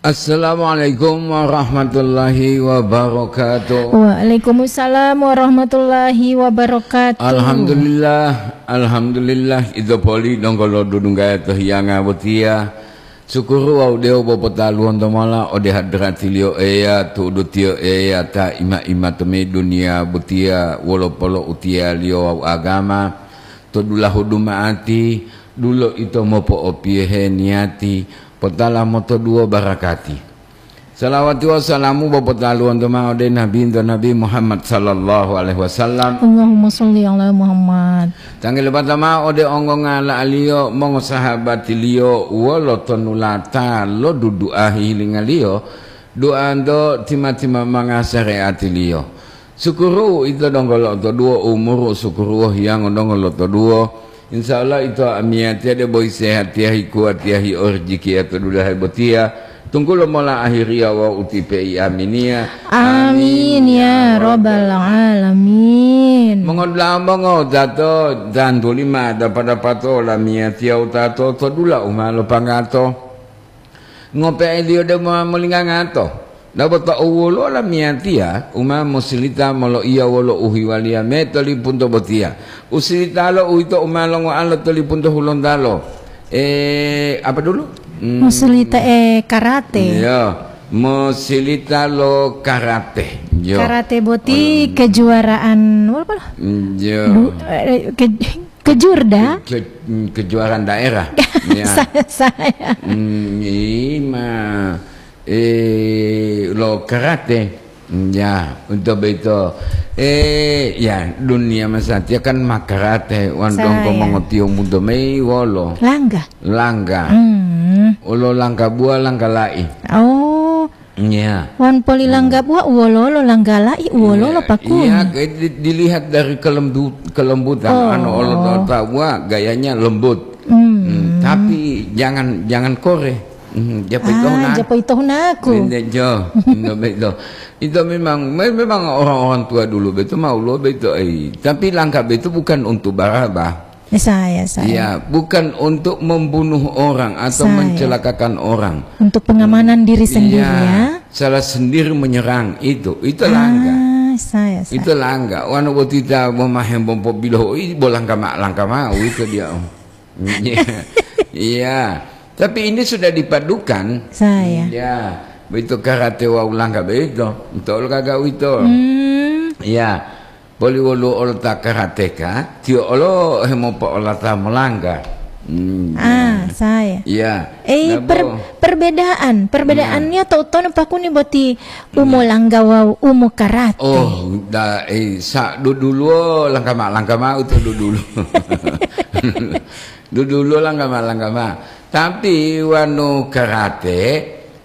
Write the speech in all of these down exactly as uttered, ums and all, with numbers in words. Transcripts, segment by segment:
Assalamualaikum warahmatullahi wabarakatuh. Waalaikumsalam warahmatullahi wabarakatuh. Alhamdulillah, alhamdulillah, ito poli donggo lo dudunggaya to hiyanga botiya. Sukuru wawu dewo bo potaluwonto mola ode hadratiliyo Eya, tu'udutiyo Eya ta ima-ima to me duniya botiya wolo polo'utiyaliyo wawu agama. To dulahu duma'ati, dulo ito mopo'opiyohe niyati, potala motoduwo barakati. Salawati wawu salamu bo potaluwonto ma'o ode Nabinto Nabi Muhammad sallallahu alaihi wasallam. Allahumma sholli ala Muhammad. Tanggulo bata ma'o ode ongongala'aliyo, mongosahabatiliyo, wolo tonulata lo dudu'a hihilingaliyo, du'anto tima-tima manga sare'atiliyo. Sukuru ito donggo lo'otoduwo umuru, sukuru hiyango donggo lo'otoduwo. Insya Allah ito amiyatiya debo sehatiya, hikuwatiya, hi orijikiya to dulahe botiya. Tunggulo mola ahiriya wawu utipe'i aminiya. Amin ya rabbal alamin. Mongodula'a mongo tato tantuli ma dapa-dapato lamiyatiya utato to dula u ma lopanggato. Ngope'eliyo debo ma molingangato. Dabo ta owwolo lamiyatiya u ma mosilita moloiya wolo uhiwaliya me to lipunto botiya. Usilitalo uwito u ma longoalo to lipunto hulontalo. Eh, apa dulu? Hmm. Musulita, eh, karate. Iya, musilita lo karate. Iya. Karate boti kejuaraan, apa? Iya. Du-, eh, ke-, kejurda? Ke-, ke-, kejuaraan daerah. Iya. Saya, saya. Hmm, ima, eh, lo karate. Ya, untuk begitu. Eh, ya, dunia masatiya kan makarate, wan donggo mongotiyo mudo mei wolo. Langga. Langga. Hmm. Olo langga buah, langga la'i. Oh. Ya. Wan poli langga buah, uwololo langga la'i, uwololo pakun. Iya, ke-, di-, dilihat dari kelembu-, kelembutan. Oh. Anu olo ta-, ta buah, gayanya lembut. Hmm. Hmm, tapi jangan, jangan kore. Hmm, japo ito Ah, huna. Japo ito hunaku. Inde jo, inde beto. Itu memang, me-, memang orang-orang tua dulu beto mau lo beto, eh. Tapi langka beto bukan untuk barabah. Eh, saya, saya. Iya, bukan untuk membunuh orang atau Saya. mencelakakan orang. Untuk pengamanan diri sendiri, Iya, ya. salah sendiri menyerang itu. Itu langka. Ah, saya, saya. Itu langka. Wanu botita bo mahembompo biloho, ih, bo langka ma-, langka mau itu dia. Iya. Iya. Tapi ini sudah dipadukan. Saya. Iya. Begitu karate wawu langga begitu. Betul kagak itu? Hmm. Iya. Poli wolu olota karateka, tiyo olo hemopo'olata molangga. Hmm, Ah, iya. saya. Iya. Eh, Nah, per-, bo. perbedaan, perbedaannya Nah. to-, tono pakuni boti Nah. umo langga wawu umo karate. Oh, da, eh, sa duduluwo langka ma-, langka mau to dudulu. Duduluwo langka ma-, langka ma. Tapi wanu karate,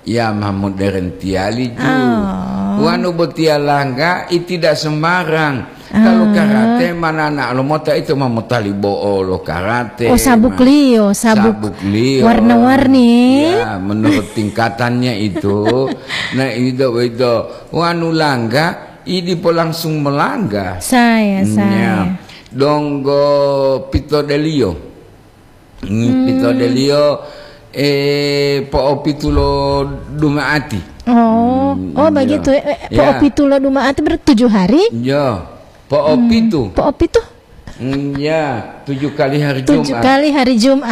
ya ma modern tiyali ju. Oh. Wanu botiya langga, i tidak sembarang. Kalau Ah. karate manana lo mota itu ma motali bo'o lo karate, Oh, sabuk ma-, liyo, sabuk sabuk liyo. warna-warni. Ya, menurut tingkatannya itu. Nah, itu, itu. Wanu langga, i dipo langsung melangga. Saya, Hmm, saya. ya. Donggo pito deliyo. Hmm, Hmm. pitodeliyo, eh, po'opitu lo duma'ati. Oh, Hmm, oh, iya. begitu, eh, eh, Iya. po'opitu lo duma'ati berarti tujuh hari? Iya, po'opitu. Hmm, po'opitu? Hmm, ya, tujuh kali hari Tujuh Jumat. kali hari Jumat.